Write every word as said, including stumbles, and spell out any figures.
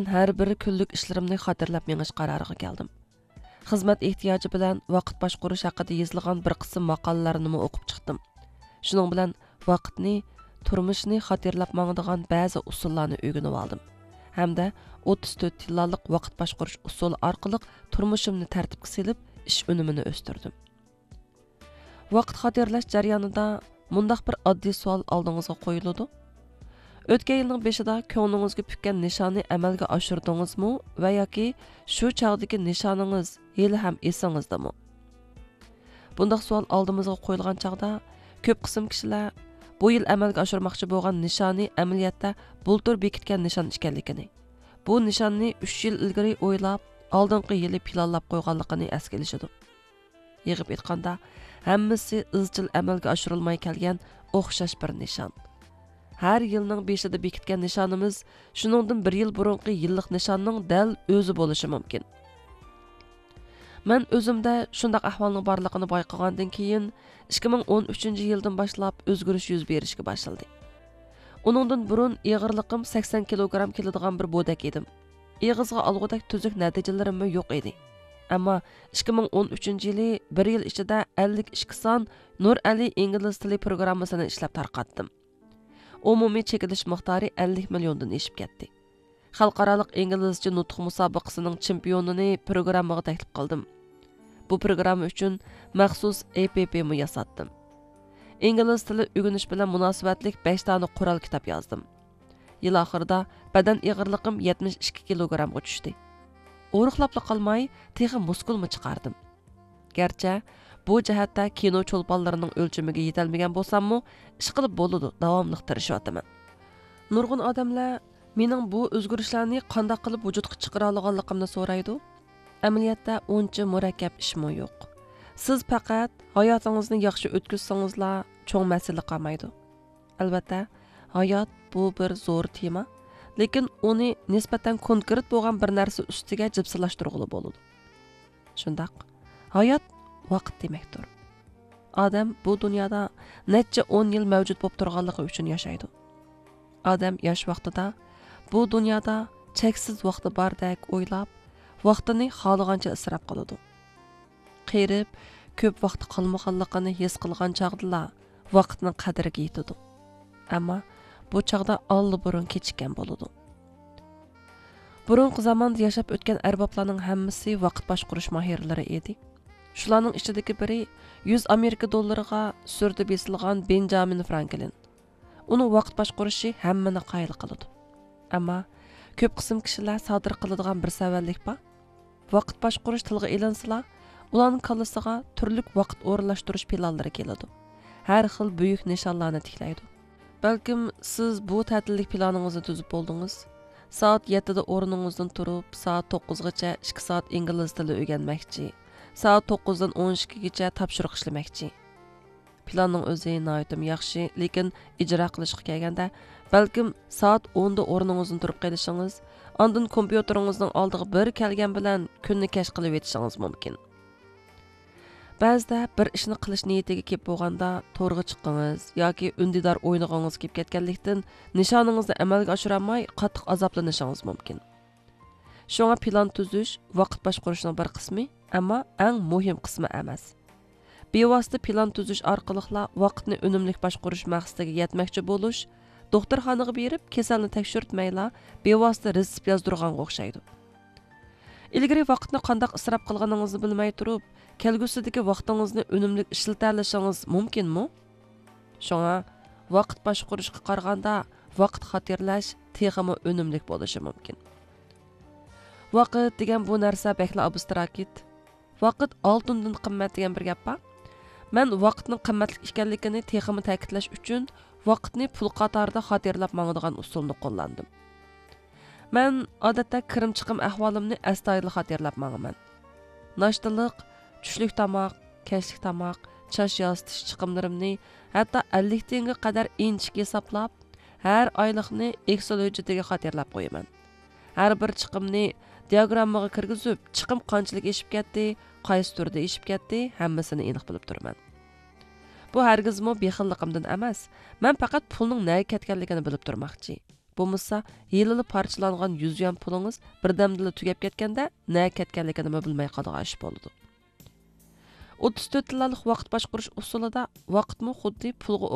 ھەر بىر كۈنلۈك ئىشلىرىمنى خاتىرىلەپ مېڭىش قارارىغا كەلدىم. خىزمەت ئېھتىياجى بىلەن ۋاقىت باشقۇرۇش ھەققىدە يېزىلغان بىر قىسىم ماقالىلەرنىمۇ ئوقۇپ چىقتىم. شۇنىڭ بىلەن ۋاقىتنى، تۇرمۇشنى خاتىرىلەپ ماڭىدىغان بەزى ئۇسۇللارنى ئۆگىنىۋالدىم ھەمدە ئوتتۇز تۆت تىللالىق ۋاقىت باشقۇرۇش ئۇسۇلى ئارقىلىق تۇرمۇشۇمنى تەرتىپكە سېلىپ، ئىش ئۈنۈمىنى ئۆستۈردۈم. ۋاقىت خاتىرىلەش جەريانىدا مۇنداق بىر ئاددىي سوئال ئالدىڭىزغا قويۇلىدۇ: ئۆتكەن يىلنىڭ بېشىدا كۆڭلىڭىزگە پۈككەن نىشاننى ئەمەلگە ئاشۇردىڭىزمۇ ۋە ياكى شۇ چاغدىكى نىشانىڭىز ھېلىھەم ئېسىڭىزدىمۇ؟ بۇنداق سوئال ئالدىمىزغا قويۇلغان چاغدا، كۆپ قىسىم كىشىلەر بۇ يىل ئەمەلگە ئاشۇرماقچى بولغان نىشانى ئەمەلىيەتتە بۇلتۇر بېكىتكەن نىشان ئىكەنلىكىنى، بۇ نىشاننى ئۈچ يىل ئىلگىرى ئويلاپ، ئالدىنقى يىلى پىلانلاپ قويغانلىقىنى ئەسكە ئېلىشىدۇ. يىغىپ ئېيتقاندا، ھەممىسى ئىزچىل ئەمەلگە ئاشۇرۇلماي كەلگەن ئوخشاش بىر نىشان. ھەر يىلنىڭ بېشىدا بېكىتكەن نىشانىمىز شۇنىڭدىن بىر يىل بۇرۇنقى يىللىق نىشاننىڭ دەل ئۆزى بولۇشى مۇمكىن. مەن ئۆزۈمدە شۇنداق ئەھۋالنىڭ بارلىقىنى بايقىغاندىن كېيىن، ئىككى مىڭ ئون ئۈچىنچى يىلدىن باشلاپ ئۆزگىرىش يۈز بېرىشكە باشلىدى. ئۇنىڭدىن بۇرۇن ئېغىرلىقىم سەكسەن كىلوگرام كېلىدىغان بىر بودەك ئىدىم. ئېغىزغا ئالغۇدەك تۈزۈك نەتىجىلىرىممۇ يوق ئىدى. ئەمما ئىككى مىڭ ئون ئۈچىنچى يىلى بىر يىل ئىچىدە ئەللىك ئىككى سان نۇرئەلى ئىنگلىز تىلى پروگراممىسىنى ئىشلەپ تارقاتتىم. ئومۇمىي چېكىلىش مىقدارى ئەللىك مىليوندىن ئېشىپ كەتتى. خەلقئارالىق ئىنگلىزچە نۇتۇق مۇسابىقىسىنىڭ چېمپىيونىنى پروگراممىغا تەكلىپ قىلدىم. بۇ پروگرامما ئۈچۈن مەخسۇس ئەپپمۇ ياساتتىم. ئىنگلىز تىلى ئۆگىنىش بىلەن مۇناسىۋەتلىك بەش دانە قورال كىتاب يازدىم. يىل ئاخىرىدا بەدەن ئېغىرلىقىم يەتمىش ئىككى كىلوگرامغا چۈشتى. ئورۇقلاپلا قالماي، تېخى مۇسكۇلمۇ چىقاردىم. گەرچە بۇ جەھەتتە كىنو چولپانلىرىنىڭ ئۆلچىمىگە يېتەلمىگەن بولساممۇ، ئىشقىلىپ بولىدۇ، داۋاملىق تىرىشىۋاتىمەن. نۇرغۇن ئادەملەر مېنىڭ بۇ ئۆزگىرىشلەرنى قانداق قىلىپ ۋۇجۇدقا چىقىرالىغانلىقىمنى سورايدۇ. ئەمەلىيەتتە ئۇنچە مۇرەككەپ ئىشمۇ يوق. سىز پەقەت ھاياتىڭىزنى ياخشى ئۆتكۈزسىڭىزلا، چوڭ مەسىلە قالمايدۇ. ئەلۋەتتە، ھايات بۇ بىر زور تېما، لېكىن ئۇنى نىسبەتەن كونكرېت بولغان بىر نەرسە ئۈستىگە جىپسىلاشتۇرغىلى بولىدۇ. شۇنداق، ھايات ۋاقىت دېمەكتۇر. ئادەم بۇ دۇنيادا نەچچە ئون يىل مەۋجۇت بولۇپ تۇرغانلىقى ئۈچۈن ياشايدۇ. ئادەم ياش ۋاقتىدا بۇ دۇنيادا چەكسىز ۋاقتى باردەك ئويلاپ، ۋاقتىنى خالىغانچە ئىسراپ قىلىدۇ. قېرىپ، كۆپ ۋاقتى قالمىغانلىقىنى ھېس قىلغان چاغدىلا ۋاقىتنىڭ قەدرىگە يېتىدۇ. ئەمما بۇ چاغدا ئاللىبۇرۇن كېچىككەن بولىدۇ. بۇرۇنقى زاماندا ياشاپ ئۆتكەن ئەربابلارنىڭ ھەممىسى ۋاقىت باشقۇرۇش ماھىرلىرى ئىدى. شۇلارنىڭ ئىچىدىكى بىرى يۈز ئامېرىكا دوللىرىغا سۈرىتى بېسىلغان بېنجامىن فرانكلىن. ئۇنىڭ ۋاقىت باشقۇرۇشى ھەممىنى قايىل قىلىدۇ. ئەمما كۆپ قىسىم كىشىلەر سادىر قىلىدىغان بىر سەۋەنلىك بار. ۋاقىت باشقۇرۇش تىلغا ئېلىنسىلا، ئۇلارنىڭ كاللىسىغا تۈرلۈك ۋاقىت ئورۇنلاشتۇرۇش پىلانلىرى كېلىدۇ. ھەر خىل بۈيۈك نىشانلارنى تىكلەيدۇ. بەلكىم سىز بۇ تەتۈللۈك پىلانىڭىزنى تۈزۈپ بولدىڭىز. سائەت يەتتىدە ئورنىڭىزدىن تۇرۇپ، سائەت توققۇزغىچە ئىككى سائەت ئىنگلىز تىلى ئۆگەنمەكچى. سائەت توققۇزدىن ئون ئىككىگىچە تاپشۇرۇق ئىشلىمەكچى. پىلاننىڭ ئۆزى ناھايىتىمۇ ياخشى، لېكىن ئىجرا قىلىشقا كەلگەندە، بەلكىم سائەت ئوندا ئورنىڭىزدىن تۇرۇپ قېلىشىڭىز، ئاندىن كومپيۇتېرىڭىزنىڭ ئالدىغا بىر كەلگەن بىلەن كۈننى كەچ قىلىۋېتىشىڭىز مۇمكىن. بەزىدە بىر ئىشنى قىلىش نىيىتىگە كېلىپ بولغاندا، تورغا چىققىڭىز ياكى ئۈندىدار ئوينىغىڭىز كېلىپ كەتكەنلىكتىن، نىشانىڭىزنى ئەمەلگە ئاشۇرالماي، قاتتىق ئازابلىنىشىڭىز مۇمكىن. شۇڭا پىلان تۈزۈش ۋاقىت باشقۇرۇشنىڭ بىر قىسمى، ئەمما ئەڭ مۇھىم قىسمى ئەمەس. بىۋاسىتە پىلان تۈزۈش ئارقىلىقلا ۋاقىتنى ئۈنۈملۈك باشقۇرۇش مەقسىتىگە يەتمەكچى بولۇش، دوختۇرخانىغا بېرىپ كېسەلنى تەكشۈرتمەيلا، بىۋاسىتە رېتسېپ يازدۇرغانغا ئوخشايدۇ. ئىلگىرى ۋاقىتنى قانداق ئىسراپ قىلغىنىڭىزنى بىلمەي تۇرۇپ، كەلگۈسىدىكى ۋاقتىڭىزنى ئۈنۈملۈك ئىشلىتەلىشىڭىز مۇمكىنمۇ؟ شۇڭا، ۋاقىت باشقۇرۇشقا قارىغاندا، ۋاقىت خاتىرىلەش تېخىمۇ ئۈنۈملۈك بولۇشى مۇمكىن. ۋاقىت دېگەن بۇ نەرسە بەكلا ئابستراكت. ۋاقىت ئالتۇندىن قىممەت دېگەن بىر گەپ بار. مەن ۋاقىتنىڭ قىممەتلىك ئىكەنلىكىنى تېخىمۇ تەكىتلەش ئۈچۈن، ۋاقىتنى پۇل قاتارىدا خاتىرىلەپ ماڭىدىغان ئۇسۇلنى قوللاندىم. مەن ئادەتتە كىرىم چىقىم ئەھۋالىمنى ئەستايىدىل خاتىرىلەپ ماڭىمەن. ناشتىلىق، چۈشلۈك تاماق، كەچلىك تاماق، چاچ ياسىتىش چىقىملىرىمنى، ھەتتا ئەللىك تىيىنغا قەدەر ئىنچىكە ھېسابلاپ، ھەر ئايلىقنى ئېكسېل ھۆججىتىگە خاتىرىلەپ قويىمەن. ھەر بىر چىقىمنى دىياگراممىغا كىرگۈزۈپ، چىقىم قانچىلىك ئېشىپ كەتتى، قايسى تۈردە ئېشىپ كەتتى، ھەممىسىنى ئېنىق بىلىپ تۇرىمەن. بۇ ھەرگىزمۇ بېخىللىقىمدىن ئەمەس، مەن پەقەت پۇلنىڭ نەگە كەتكەنلىكىنى بىلىپ تۇرماقچى. بولمىسا ھېلىلا پارچىلانغان يۈز يۈەن پۇلىڭىز بىردەمدىلا تۈگەپ كەتكەندە نەگە كەتكەنلىكىنىمۇ بىلمەي قالىدىغان ئىش بولىدۇ. ئوتتۇز تۆت تاللالىق ۋاقىت باشقۇرۇش ئۇسۇلىدا ۋاقىتمۇ خۇددى پۇلغا